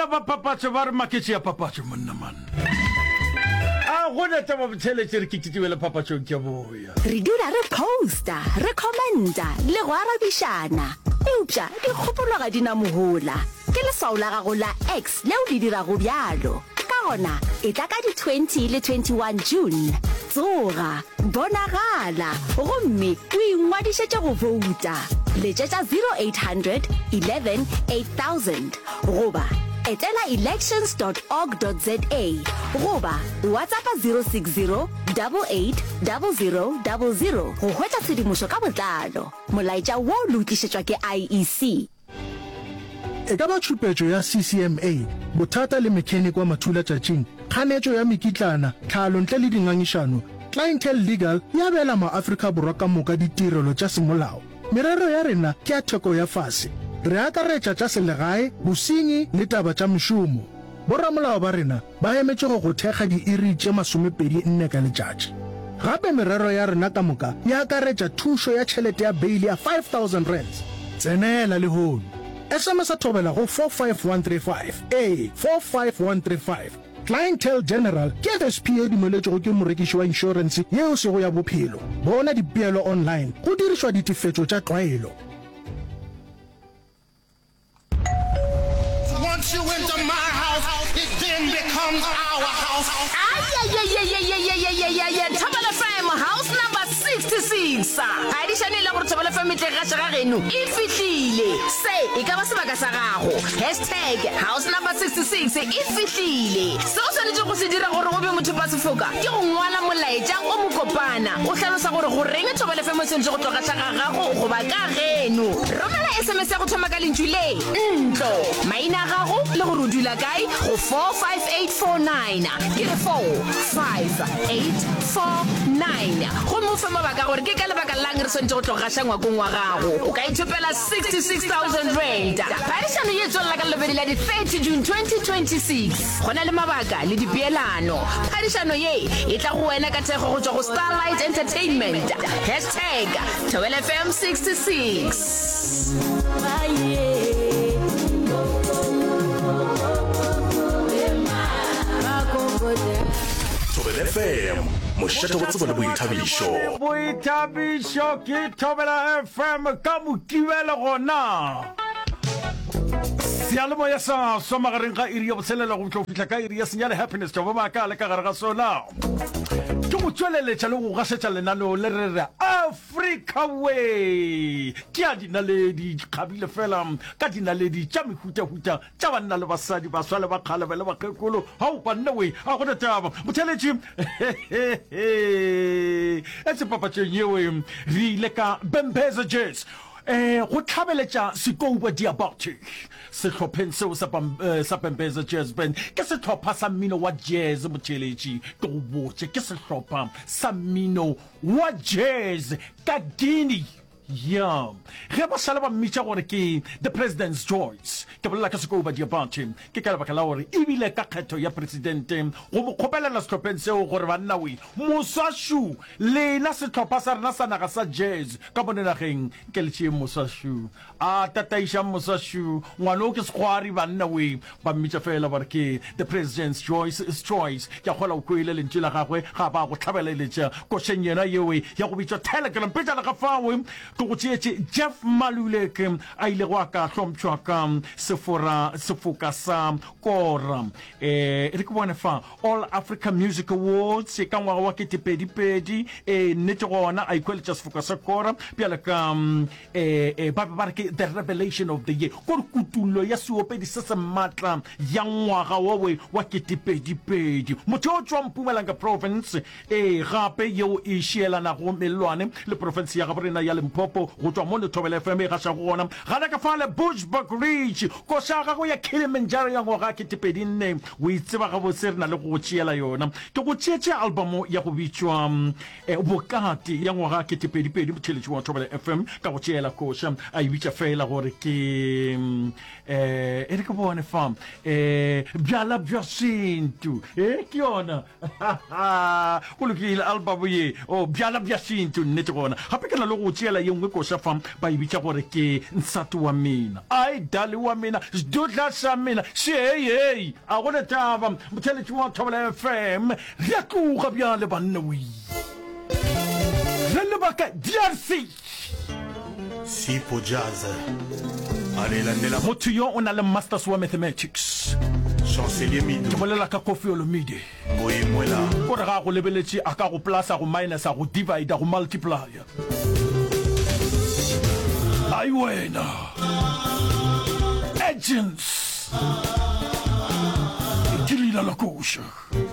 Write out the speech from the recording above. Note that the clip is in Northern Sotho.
Banna ba papatšo ba re maketše ya papatšo monna man. A gona taba botheletše re kitikibele papatšong ke boya. Re dula re posta, re commenta le go arabišana. Eupša dikgopolo ga di na mohola. Ke leswao la gago la X leo le dirago bjalo. Ka gona, etla ka di 20 le 21 June. Tsoga, bonagala, gomme o ingwadišetše go bouta. Letšetša 0800 11 8000 goba etela elections dot org dot za goba WhatsAppa 060 88 00 00 go hwetša tshedimošo ka botlalo. Molaetša wo le o tlišetšwa ke IEC. E ka ba tšhupetšo ya CCMA, bothata le mechanic wa mathulatšatšing, kganetšo ya mekitlana, tlhalo ntle le dingangišano, Clientele Legal e abela maAfrika Borwa ka moka ditirelo tša semolao. Merero ya rena ke ya theko ya fase. Re akaretša tša selegae, bosenyi le taba tša mešomo. Boramolao ba rena ba emetše go go thekga diiri tše 24 ka letšatši. Gape merero ya rena ka moka e akaretša thušo ya tšhelete ya beili ya R5000. Tsenela lehono. SMS-a Thobela go 45135. Ee, 45135. Clientele General ke FSP ye dumeletšwego ke morekiši wa inšorense yeo e sego ya bophelo. Bona dipeelo online go dirišwa ditefetšo tša tlwaelo. Once you enter my house, it then becomes our house. Ayayayayayayayayaya Thobela FM house number 66. Phadišano e la gore Thobela FM e tle gaša ga geno e fihlile. Se e ka ba sebaka sa gago. Hashtag house number 66 e fihlile. Se o swanetšego go se dira gore o be mothopasefoka ke go ngwala molaetša o mokopana o hlalosa gore goreng Thobela FM e swanetše go tlo gaša ga gago goba ka geno. Romela SMS ya go thoma ka lentšu le, ntlo, maina a gago le gore o dula kae go 45849. Ke re 45849. Gomme o fe mabaka gore ke ka lebaka la'ng re swanetše go tlo gaša ngwakong wa gago. O ka ithopela R66,000. Phadišano ye e tswelela ka Lobedi la di 30 June 2026. Go na le mabaka le dipeelano. Phadišano ye e tla go wena ka thekgo go tšwa go Starlight Entertainment. Hashtag Thobela FM 66. Thobela FM, mošate wa tsebo le boithabišo. Boithabišo ke Thobela FM ka Mokibelo gona. Seyalemoya sa swa magareng ga iri ya botshelela go tlo fihla ka iri ya senyane Happiness Jobo Maaka le ka gare ga sona. Ke go tšweleletša le go gašetša lenaneo le re re Africa Way. Ke a dinaledi kgabile fela ka dinaledi tša mehutahuta tša banna le basadi, baswa le bakgalebe le bakgekolo. Hao banna we, a gona taba. Motheletši etse papatšong yeo re ile ka Bembeza Jazz eh go tlhabeletša Sekouba Diabate sehlopheng seo sa sa Bembeza Jazz Band. Ke sehlopha sa mmino wa jazz motheletši, ke go botše ke sehlopha sa mmino wa jazz ka Guinea. Ya, ge ba šala ba mmitša gore ke The President's Choice, ke bolela ka Sekouba Diabate, ke ka lebaka la gore e bile ka kgetho ya presidente go mo kgopelela sehlopheng seo gore banna we, moswa šu, lena sehlopha sa rena sa naga sa jazz ka mono nageng, nke le tšeeng moswa šu. A tataišang moswa šu, ngwana o ke sekgwari banna we. Ba mmitša feela ba re ke The President's Choice, Choice. Ke a kgolwa o kwele lentšu la gagwe ga ba go hlabeleletša košeng yena yeo ya go bitšwa Telegram. Pejana ga fao ke go tšeetše Jeff Maluleke a ilego a ka hlompšhwa ka sefora sefoka sa Kora. E re ke bone fa All Africa Music Awards ka ngwaga wa ketepedipedi. E nnete gona a ikhweletša sefoka sa Kora bjale ka E, e, ba be ba re ke the revelation of the year, kore kutullo ya seopedi se se matla ya ngwaga wowe wa ketepedipedi. Motho yo o tšwa Mpumalanga Province, e, gape yeo e šielanago mellwane le profense ya gaborena ya Limpopo, go tšwa mo Lethobela FM e gašago gona, gana ka fale Bushbuckridge, koša ya gagwe ya Kilimanjaro ya ngwaga ketepedinne, o e tseba gabotse, re na le go go tšeela yona. Ke go tšeetše albamo ya go bitšwa Bokate ya ngwaga ketepedipedi, motheeletši wa Thobela FM ka go tšeela koša a e bitša feela gore ke um e re ke bone fa um bjala bja sentu e ke yona go lokile album ye o bjala bja sentu nnete gona gape ke na le go tšeela ye. nngwe koša fa ba e bitša gore ke Nsati wa Mina. Ai dali wa mina, sdudla sa mina, šehei hei, a go na taba. Motheeletši wa Thobela FM, re a tloga bjale banna wee. Re leba kae? DRC. Sipho Jazz Alelandela. Motho yo o na le Masters wa Mathematics. Chancelier Mido. Ke bolela ka Koffi Olomide. Mboye Mwela. O re ga a go lebeletše a ka go plusa, go minusa, go divider, go multiplier. Ai wena. Agents. Ke leina la koša.